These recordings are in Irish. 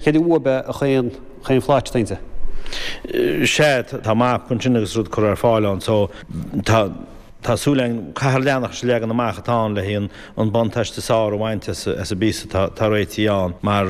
Céard é uaib é chaon chaon phlait atá inti? Sea, tá map ansin agus rud curtha ar fáil ann so tá tá súil againn, caithfear leanacht leis an leagan amach atá ann le haghaidh an buntáiste is fearr a bhaint as as an bpíosa atá atá réitithe ann mar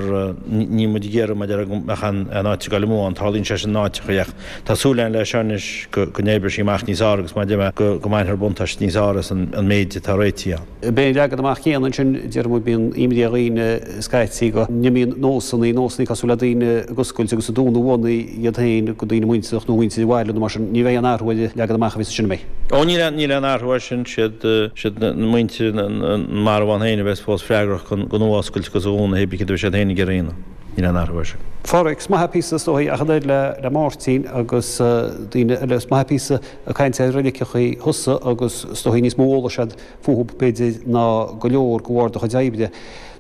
níl muid ag iarraidh mar a déarfá go mbeadh an an áit ag dul amú ann, tarlaíonn sé sin in áiteacha ach tá súil againn leis seo anois go go n-oibreoidh sí amach níos fearr agus mar a deir mé go go mbainfear buntáiste níos fearr as an an méid atá réitithe ann. B'é an leagan amach céanna ansin, deir muid, bíonn imní ar dhaoine scaití go n-imíonn nósanna, nósanna cosúil le daoine ag oscailt agus ag dúnadh bhonnaí iad féin go daoine muinteartha nó muintir an bhaile nó mar sin. Ní bheidh aon athrú ar an leagan amach a bhí ansin, an mbeidh? Ó, níl aon, níl aon athrú air sin. Siad, siad na muintir an marbhán féin a bheas fós freagrach don oscailt agus a dhúnadh, hé bí céard a bheidh siad féin ag iarraidh a dhéanamh. Níl aon athrú air sin. A Pháraic, is maith é píosa is dóigh ach an oiread le, le Máirtín agus daoine eile, is maith é píosa ag caint ar reiligeachaí thusa agus is dóigh níos mó eolais agat fúthu b'fhéidir ná go leor de bharr do chuid oibre.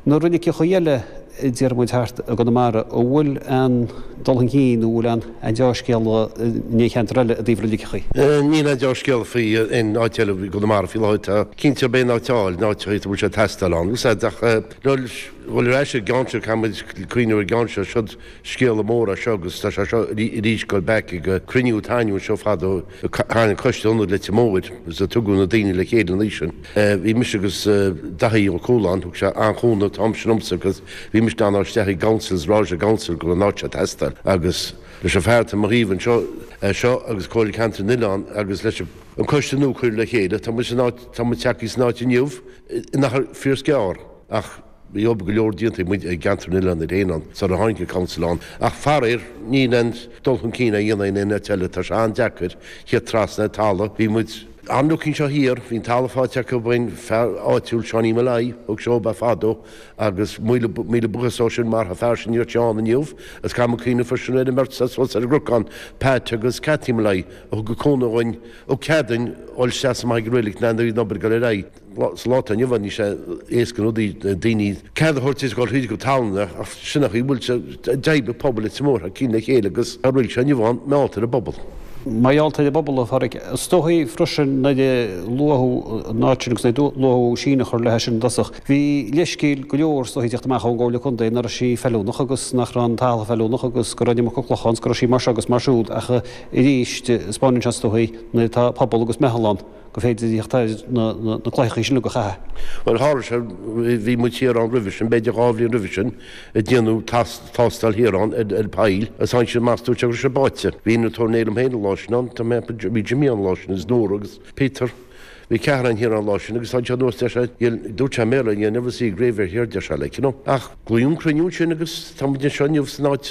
Na reiligeachaí eile a deir muid thart i gConamara, an bhfuil aon dul chun cinn nó an bhfuil aon deá-scéala in aon cheantar eile i dtaobh reiligeachaí? Níl aon deá-scéala faoi aon áit eile i gConamara faoi láthair. Tá cinnte gurb aon áit a fháil, in áiteachaí a bhfuil sé ag teastáil ann. Úsáid ach le dhul ar ais ar an gceann seo, caithfidh muid cuimhneamh ar an gceann seo. Siod scéala mór é seo agus tá sé seo arís ag dul back ag cruinniú a tharla anseo fadó tháinig coiste ionad Leitir Móir agus a tugadh na daoine le chéile an oíche sin. Bhí mise agus Daithí Ó Cualáin, thug sé an-chúnamh an t-am sin dhomsa agus bhí mise in ann dul isteach i gcouncil is rá leis an gcouncil go raibh an áit seo ag teastáil agus leis an fear atá i mo thaobh anseo seo agus Comhairle Ceantair na nOileán agus leis an coiste nua a cuireadh le chéile tá muid san áit tá muid tagtha san áit inniu in achar fíor gearr ach Bhí obair go leor déanta ag muid i gCeantar na nOileán iad féin ann sara tháinig an Council ann ach faraor níl aon dul chun cinn á dhéanamh in aon áit eile, tá sé an-deacair theacht trasna ar talamh. Bhí muid an-lucky anseo thiar, bhí an talamh faighte acu ón fear áitiúil Seáinín Molloy, thug sé dhóibh é fadó agus míle míle buíochas dó sin mar an fear sin níl sé ann inniu agus caithfidh muid cuimhneamh freisin ar an mbeirt suas ar an gcnocán, Pat agus Cathy Molloy a thug an cúnamh dhúinn, thug cead dúinn dhul isteach is amach ag an reilig nuair a bhí an obair ag dul ar aghaidh. Sa lá atá inniu ann, níl sé éasca na rudaí, daoine cead a thabhairt is dul thríd go tallanna ach sin an chaoi a bhfuil sé, d'oibrigh pobal Leitir Móir thar cinn le chéile agus tá an reilig seo inniu ann mar gheall ar an bpobal. Mar gheall ar an bpobal, a Pháraic. Is dóigh freisin nuair a luadh an áit sin agus nuair a luadh síneadh a chur léi sin i dtosach, bhí leithscéal go leor is dóigh ag teacht amach ón gComhairle Contae nach raibh sí feiliúnach agus nach raibh an talamh feiliúnach agus go raibh an iomarca cloch ann is go raibh sí mar seo agus mar siúd ach arís, 'spáineann sé is dóigh nuair atá pobal agus meitheal ann. gur féidir theacht ar na cloicheachaí sin uilig a chaitheamh. Bhuel, tharla sé, bhí muid thiar ann roimhe sin, b'fhéidir 2 bhliain roimhe sin, ag déanamh tástáil thiar ann ar poill agus tháinig siad amach, dúirt sé go raibh sé báite. Bhí innealtóir liom féin an lá sin ann, tá mé, bhí Jimmy ann an lá sin agus Nóra agus Peter, bhí ceathrar againn thiar ann an lá sin agus tháinig siad anuas, deir sé, dúirt sé i mBéarla, you'll never see a graveyard here, deir sé, like, you know. Ach glaodh an cruinniú ansin agus tá muid anseo inniu san áit,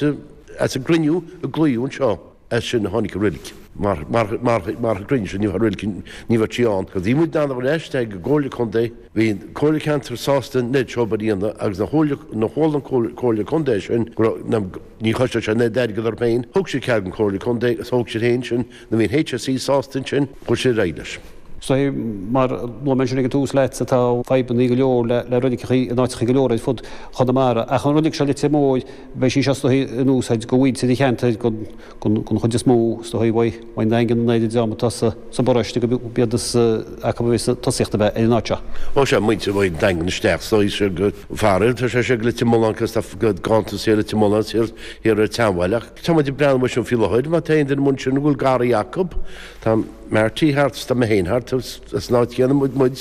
as an gcruinniú a glaodh anseo. As sin a tháinig an reilig. Mar an gcruinniú sin, ní bheadh reilig, ní bheadh sí ann. Bhí muid in ann a dhul isteach ag an gComhairle Contae, bhí an Comhairle Ceantair sásta an oiread seo obair a dhéanamh agus nuair a chuala an Comhairle Contae sin go raibh, ní chosnódh sé an oiread airgead orthu féin, thug siad cead don Chomhairle Contae agus thóg siad féin sin, nuair a bhí an HSE sásta ansin, chuir siad ar aghaidh leis. So, mar a luaigh mé ansin ag an tús leat, tá fadhbanna go leor le reiligeachaí in áiteachaí go leor ar fud Chonamara. Ach an reilig seo Leitir Móir, Beidh sí seo is dóigh in úsáid do mhuintir an cheantair don chuid is mó, is dóigh, uaidh an Daingean an oiread dream atá sa bparóiste go b'iad is acu a bheas tosaíocht a bheith ar an áit seo. Ó sea, muintir uaidh an Daingean isteach, is dóigh, sé go faraor, tá sé sé go Leitir Mealláin agus tá ganntanas thiar Leitir Mealláin is thiar thiar ar an tSeanbhaile ach tá muid ag breathnú air sin faoi láthair, má tá aon duine amuigh ansin a bhfuil garraí acu, tá Marty thart is tá mé féin thart, as an áit chéanna muid, muid,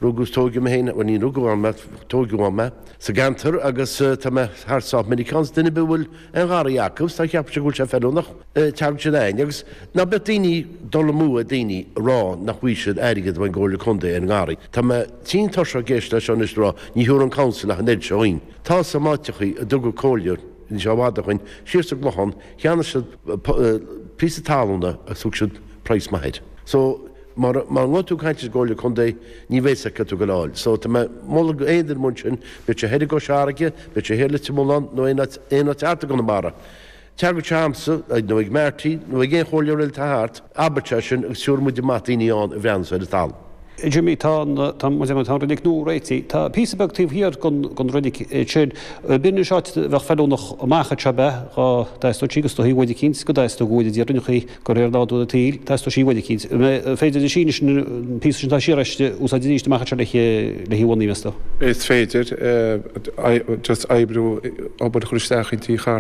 rugadh is tóigeadh mé féin, bhuel ní rugadh ann mé, tóigeadh ann mé. sa gceantar agus tá mé thart sách minic ann. Duine ar bith a bhfuil aon gharraí acu is tá cheapfadh sé go bhfuil sé feiliúnach, tagann siad a'ainn agus ná beadh daoine dul amú ar daoine a rá nach bhfaighidh siad airgead ón gComhairle Contae ar an ngarraí. Tá mé tinn tuirseach ag éisteacht leis seo anois ag rá ní thiúrfaidh an Council ach an oiread seo dhuinn. Tá 's a'm áiteachaí a dtugadh comhairle níl sé i bhfad ó shoin siar sa gClochán cheannaigh siad píosa talúna agus thug siad praghas maith air. So. Mara ngabhann tú ag caint leis an gComhairle Contae, ní bheidh 's acu cad tú ag goil a fháil. So, tá mé ag moladh go aon duine amuigh ansin, bíodh sé thoir i gCois Fharraige, bíodh sé thiar i Leitir Mealláin nó aon áit, aon áit thart i gConamara. Teagadh sé a'msa, nó ag Marty, nó ag aon chomhairleoir eile atá thart, abair sé sin agus tiúrfaidh muid amach daoine ann a bhreathnós ar an talamh. Jimmy, Tá an, tá, tá an reilig nua réitithe. Tá píosa beag taobh thiar den reilig sin. B'in anois áit a bheadh feiliúnach amach anseo ab ea, dhá dteastódh sí agus is dóichí uair eicínt go dteastódh uair a d'iarrainn an chaoi de réir nádúr an tsaoil, teastóidh sí uair eicínt. An féidir leis sin an píosa sin atá siar aisti a úsáid arís amach anseo le haghaidh bhunaí, meas tú? Is féidir, just oibriú, obair a chur isteach inti.